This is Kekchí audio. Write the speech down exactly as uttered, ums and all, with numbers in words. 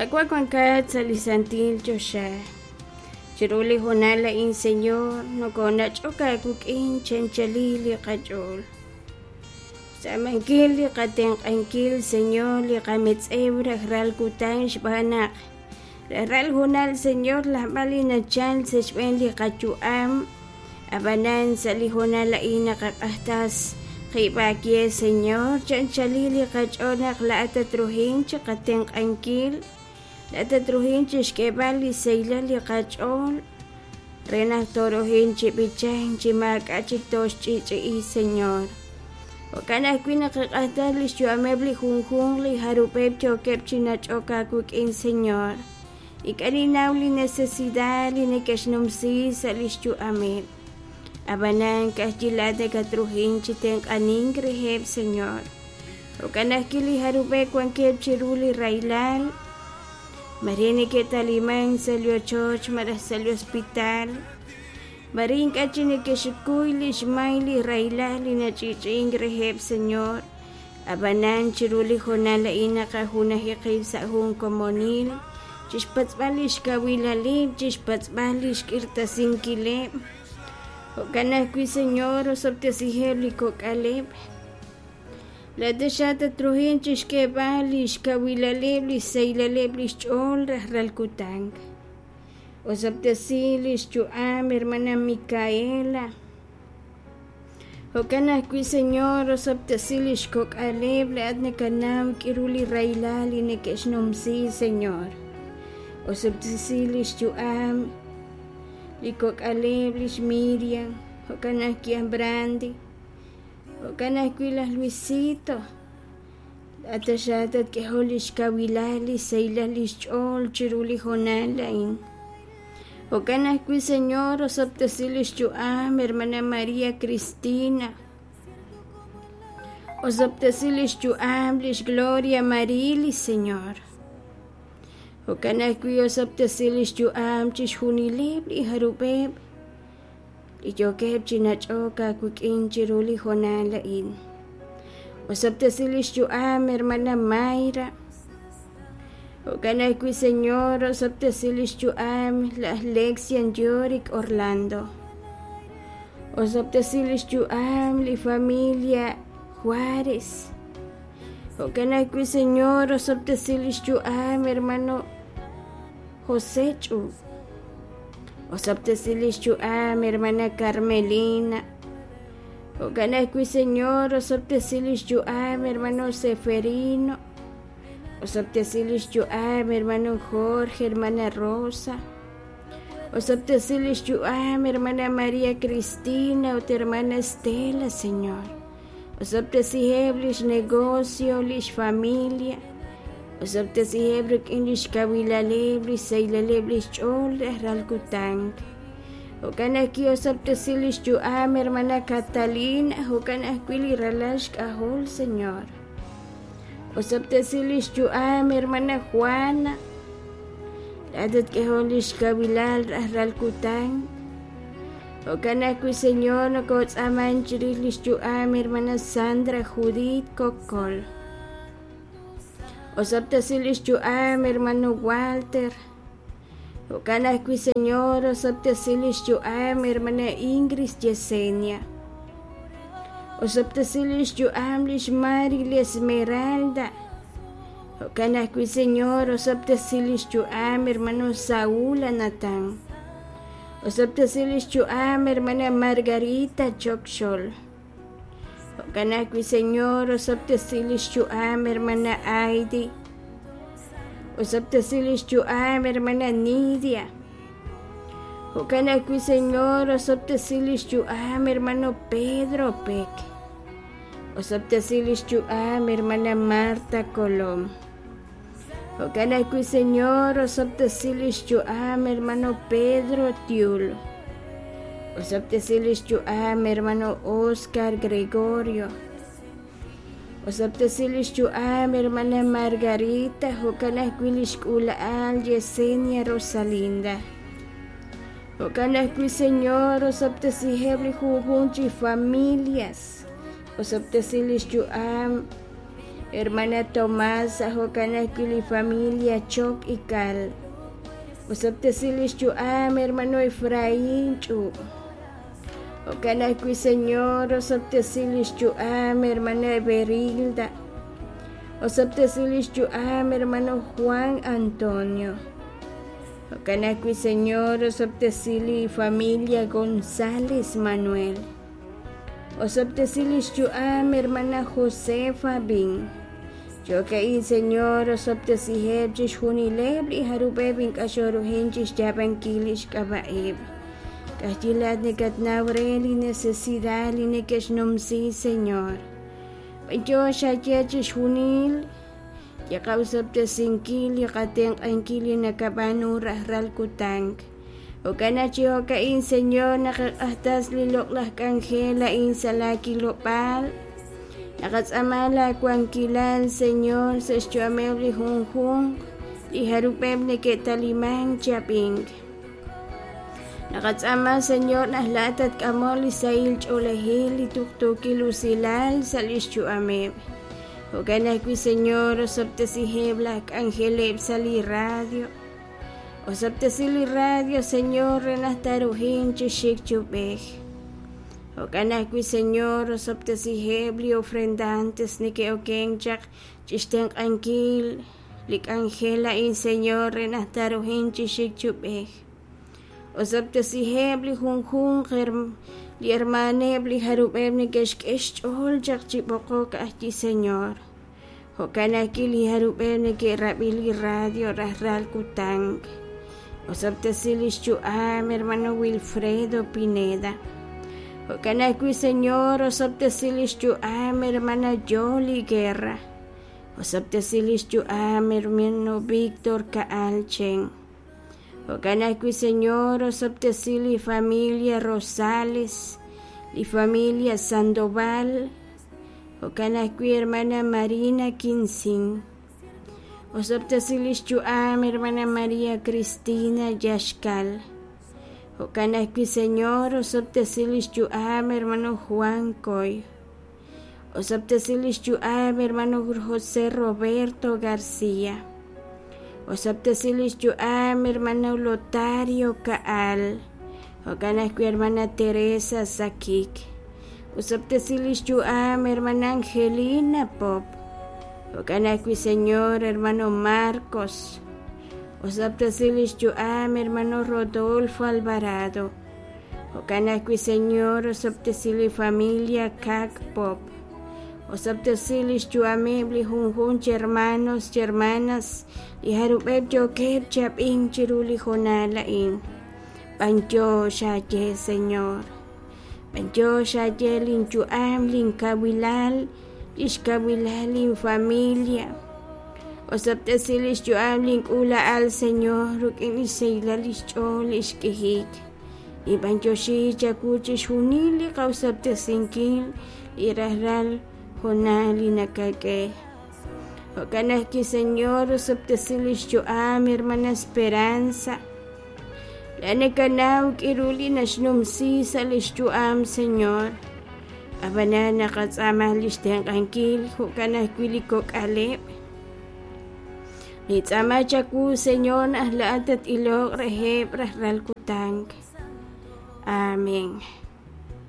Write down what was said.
Qaawa' wankat sa' li santil choxa. Chiru li hoonal a'in, Señor, nokonach'ok aawik'in chi anchalil li qach'ool. Xtz'aamankil li qatenq'ankil, Señor, li qametz'ew rajlal kutan xb'aan naq rajlal hoonal, Señor, lajb'al li nachal sa' xb'een li qayu'am. Ab'anan sa' li hoonal a'in naqaq'ajtas qib' aawe, Señor, chi anchalil li qach'ool naq laa'at tatruhin chi qatenq'ankil, laa'at tatruhin chi xk'eeb'al li sahilal li qach'ool re naq tooruhin chi b'ichank chi maak'a' chik tooxch'i'ch'i'i, Señor. Jo'kan ajwi' naqaq'ajtas li xyu'ameb' li junjunq li jarub'eb' yookeb' chi nach'ok aawik'in, Señor. Ink'a' ninnaw li necesidad li neke'xnumsi sa' li xyu'ameb'. Ab'anan ka'ajwi' laa'at nakatruhin chi tenq'anink reheb', Señor. Jo'kan ajwi' li jarub'eb' wankeb' chiru li rahilal, mare neke'talimank sa' li ochoch malaj sa' li hospital, mare ink'a' chik neke'xkuy li xmay li rahilal li nach'i'ch'i'ink reheb', Señor. Ab'anan chiru li hoonal a'in naqajunaji qib' sa' jun komonil chi xpatz'b'al li xkawilaleb', chi xpatz'b'al li xk'irtasinkileb'. Jo'kan ajwi', Señor, osob'tesiheb' li kok'aleb'. Laa'at xa tatruhin chi xk'eeb'al li xkawilaleb', li xsahilaleb' li xch'ool rajlal kutan. Osob'tesi li xyu'am hermana Micaela. Jo'kan ajwi', Señor, osob'tesi li xkok'aleb', laa'at nakanaw k'iru li rahilal li neke'xnumsi, Señor. Osob'tesi li xyu'am li kok'aleb', lix Miriam, jo'kan ajwi' aj Brandy, jo'kan ajwi' laj Luisito. Laa'at xa tatk'ehol li xkawilal, li xsahilal li xch'ool chiru li hoonal a'in. Jo'kan ajwi', Señor, osob'tesi li xyu'am hermana María Cristina. Osob'tesi li xyu'am lix Gloria Marilis, Señor. Jo'kan ajwi' osob'tesi li xyu'am chixjunileb' li jarub'eb' li yookeb' chi nach'ok aawik'in chiru li hoonal a'in. Osob'tesi li xyu'am hermana Mayra. Jo'kan ajwi', Señor, osob'tesi li xyu'am laj Lexian Yorick Orlando. Osob'tesi li xyu'am li familia Juárez. Jo'kan ajwi', Señor, osob'tesi li xyu'am hermano José Ch'u. Osob'tesi li xyu'am hermana Carmelina. Jo'kan ajwi', Señor, osob'tesi li xyu'am hermano Seferino. Osob'tesi li xyu'am hermano Jorge, hermana Rosa. Osob'tesi li xyu'am hermana María Cristina ut hermana Estela, Señor. Osob'tesiheb' li xnegocio, li xfamilia. Osob'tesiheb' rik'in li xkawilaleb', li xsahilaleb' li xch'ool rajlal kutan. Jo'kan ajwi' osob'tesi li xyu'am hermana Catalina, jo'kan ajwi' li ralal xk'ajol, Señor. Osob'tesi li xyu'am hermana Juana. Laa'at tatk'ehol li xkawilal rajlal kutan. Jo'kan ajwi', Señor, nokotz'aaman chirix li xyu'am hermana Sandra Judith Cocol. Osob'tesi li xyu'am hermano Walter. Jo'kan ajwi', Señor, osob'tesi li xyu'am hermana Ingrid Yesenia. Osob'tesi li xyu'am lix Mari Esmeralda. Jo'kan ajwi', Señor, osob'tesi li xyu'am hermano Saúl Anatán. Osob'tesi li xyu'am hermana Margarita Chokxol. Jo'kan ajwi', Señor, osob'tesi li xyu'am hermana Aidi. Osob'tesi li xyu'am hermana Nidia. Jo'kan ajwi', Señor, osob'tesi li xyu'am hermano Pedro Peck. Osob'tesi li xyu'am hermana Marta Colom. Jo'kan ajwi', Señor, osob'tesi li xyu'am hermano Pedro Tiul. Osob'tesi li xyu'am hermano Oscar Gregorio. Osob'tesi li xyu'am hermana Margarita, jo'kan ajwi' li xk'uula'al Yesenia Rosalinda. Jo'kan ajwi', Señor, osob'tesiheb' li junjunq chi familias. Osob'tesi li xyu'am Hermana Tomasa jo'kan ajwi' li familia Choc Ical. Osob'tesi lix yu'am hermano Efraín Ch'ub'. Jo'kan ajwi' Señor, osob'tesi lix yu'am hermana Everilda. Osob'tesi lix yu'am hermano Juan Antonio. Jo'kan ajwi' Señor, osob'tesi li familia González Manuel. Osob'tesi lix yu'am hermana Josefa Bin. Jo'ka'in Señor, osob'tesiheb' chixjunileb' li jarub'eb' ink'a' xoruhin chixyaab'ankil lix k'ab'a'eb'. K'ajyi laat nakatnaw re li necesidad li neke'xnumsi, Señor. B'anyox xaye chixjunil li qa'osob'tesinkil li qatenq'ankil li nakab'aanu rajlal kutan. Jo'kan chi jo'ka'in, Señor, naqaq'ajtas li loq'laj k'anjel a'in sa' laakilob'aal. Naqatz'aama laawankilal, Señor, sa' xyu'ameb' li junjunq li jarub'eb' neke'talimank chi ab'ink. Naqatz'aama, Señor, naq laa'at tatk'amoq li sahil ch'oolejil li tuqtuukil usilal sa' lix yu'ameb'. Jo'kan ajwi', Señor, osob'tesiheb' laj k'anjeleb' sa' li radio. Osob'tesi li radio, Señor, re naq taruhin chi xik chi ub'ej. Jo'kan ajwi', Señor, osob'tesiheb' li ofrendantes neke'okenk chaq chixtenq'ankil li k'anjel a'in, Señor, re naq taruhin chi xik chi ub'ej. Osob'tesiheb' li junjunq li hermaneb' li jarub'eb' neke'xk'e xch'ool chaq chi b'oqok ajwi', Señor. Jo'kan ajwi' li jarub'eb' neke'rab'i li radio rajlal kutan. Osob'tesi lix yu'am hermano Wilfredo Pineda. Jo'kan ajwi', Señor, osob'tesi lix yu'am hermana Yoli Guerra. Osob'tesi lix yu'am hermano Víctor Kaal Chen. Jo'kan ajwi', Señor, osob'tesi li familia Rosales, li familia Sandoval. Jo'kan ajwi', hermana Marina Quinzin. Osob'tesi lix yu'am hermana María Cristina Yaxcal. Jo'kan ajwi', Señor, osob'tesi lix yu'am hermano Juan Coy. Osob'tesi lix yu'am hermano José Roberto García. Osob'tesi lix yu'am hermano Lotario Kaal. Jo'kan ajwi' hermana Teresa Sakik. Osob'tesi lix yu'am hermana Angelina Pop. Jo'kan ajwi', Señor, hermano Marcos. Osob'tesi lix yu'am hermano Rodolfo Alvarado. Jo'kan ajwi', Señor, osob'tesi li familia Kak Pop. Osob'tesi lix yu'ameb' li junjun chi hermanos chi hermanas li jarub'eb' yookeb' chi ab'ink chiru li jonal a'in. B'anyox xaye, Señor. B'anyox xaye linyu'am, linkawilal, lix kawilal linfamilia. Osob'tesi lix yu'am link'uula'al, Señor, ruk'in lix sahilal lix ch'ool lix k'ijik. Ib'anyoxi chawu chixjunil li qa'osob'tesinkil li rajlal jonal li nakak'e. Jo'kan ajwi', Señor, osob'tesi lix yu'am hermana Esperanza. La nakanaw k'iru li naxnumsi sa' lix yu'am, Señor. Ab'anan naqatz'aama lix tenq'ankil jo'kan ajwi' li kok'aleb'. Nitz'aama chawu, Señor, naq laa'at tat'iloq reheb' rajlal kutan. Amén.